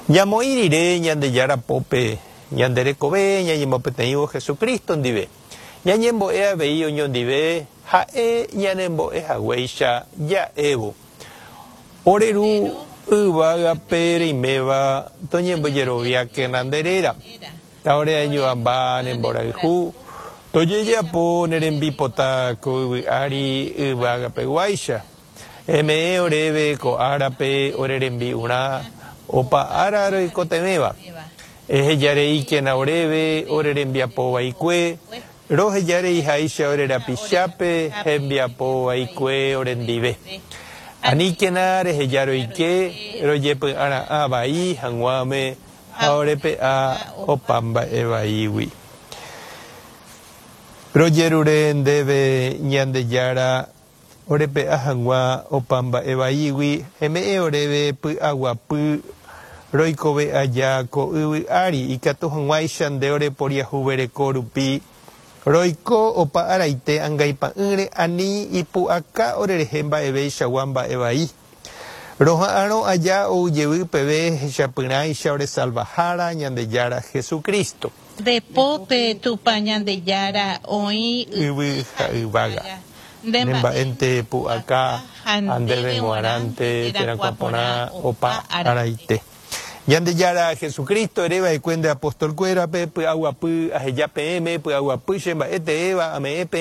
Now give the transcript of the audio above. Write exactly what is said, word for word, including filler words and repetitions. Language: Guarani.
Ñamoĩ rire Ñandejára pópe ñande rekove ñañemopeteĩvo Jesucristo ndive. Ñañembo'e avei oñondive ha'e ñanembo'e haguéicha ja'évo. Ore Ru yvágape reiméva toñembojeroviákena nde réra. Taoreañuãmba ne mborayhu tojejapo ne rembipota ko yvy ári yvágapeguáicha. Eme'ẽ oréve ko árape ore rembi'urã opa ára roikotevẽva. Ehejareíkena oréve ore rembiapo vaikue, rohejareiháicha ore rapichápe hembiapo vaikue orendive. Aníkena reheja roike rojepy'ara'ã vai hag̃uáme ha orepe'a opa mba'e vaígui. Rojerure ndéve Ñandejára orepe'a hag̃ua opa mba'e vaígui eme'ẽ oréve py'aguapy roikove aja ko yvy ári ikatu hag̃uáicha nde oreporiahuvereko rupi roiko opa araite angaipa'ỹre ani ipu'aka orerehe mba'eveichagua mba'e vai. Roha'arõ aja oujevy peve hechapyrãicha oresalvahára Ñandejára Jesucristo. Nde pópe Tupã Ñandejára oĩ Yvy ha yvága. Nde Ne mba'énte pu'aka ha ha ndéve g̃uarãnte terakuã porã opa araite. Ñandejára Jesucristo ereva'ekue nde apostolkuérape py'aguapy aheja peẽme py'aguapy che mba'e teéva ame'ẽ peẽme.